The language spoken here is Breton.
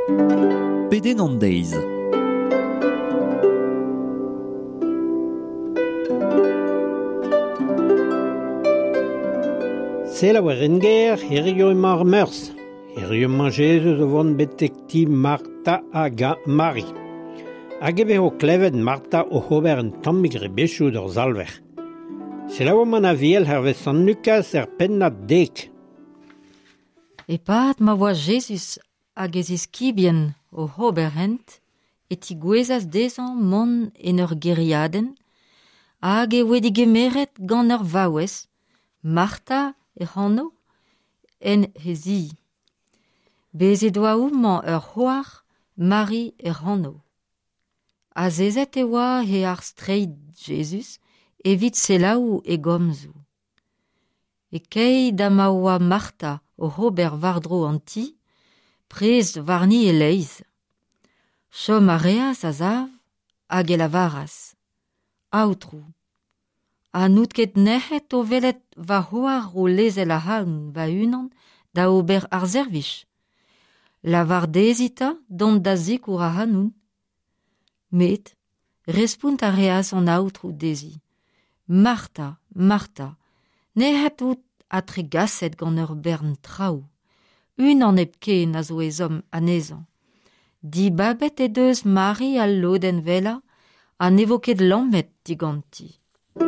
Pedenn an deiz. Selaou ar Renger, hirio emañ ar Meurzh. Hirio emañ Jezuz o vont betek ti Marta hag Mari. Hag e vezo klevet Marta oc'h ober un tammig rebechoù d'hor Salver. Selaouomp an Aviel hervez Sant Lukaz er pennad dek. E-pad ma oa Jezuz hag e ziskibien oc'h ober hent e tigouezas dezhañ mont en ur gêriadenn hag e voe degemeret gant ur vaouez, Marta hec'h anv, en he zi. Bez' he doa homañ ur c'hoar, Mari hec'h anv. Azezet e oa e-harz treid Jezuz evit selaou e gomzoù. E-keit ha ma oa Marta oc'h ober war-dro an ti, prez warni e-leizh. Chom a reas a-sav hag e lavaras: Aotrou, ha n'out ket nec'het o welet va c'hoar o lezel ac'hanon va-unan da ober ar servij? Lavar dezhi 'ta dont da sikour ac'hanon. Met respont a reas an aotrou dezhi: Marta, Marta, nec'het out ha tregaset gant ur bern traoù. Unan hepken a zo ezhomm anezhañ. Dibabet he deus Mari al lodenn wellañ ha ne vo ket lammet diganti.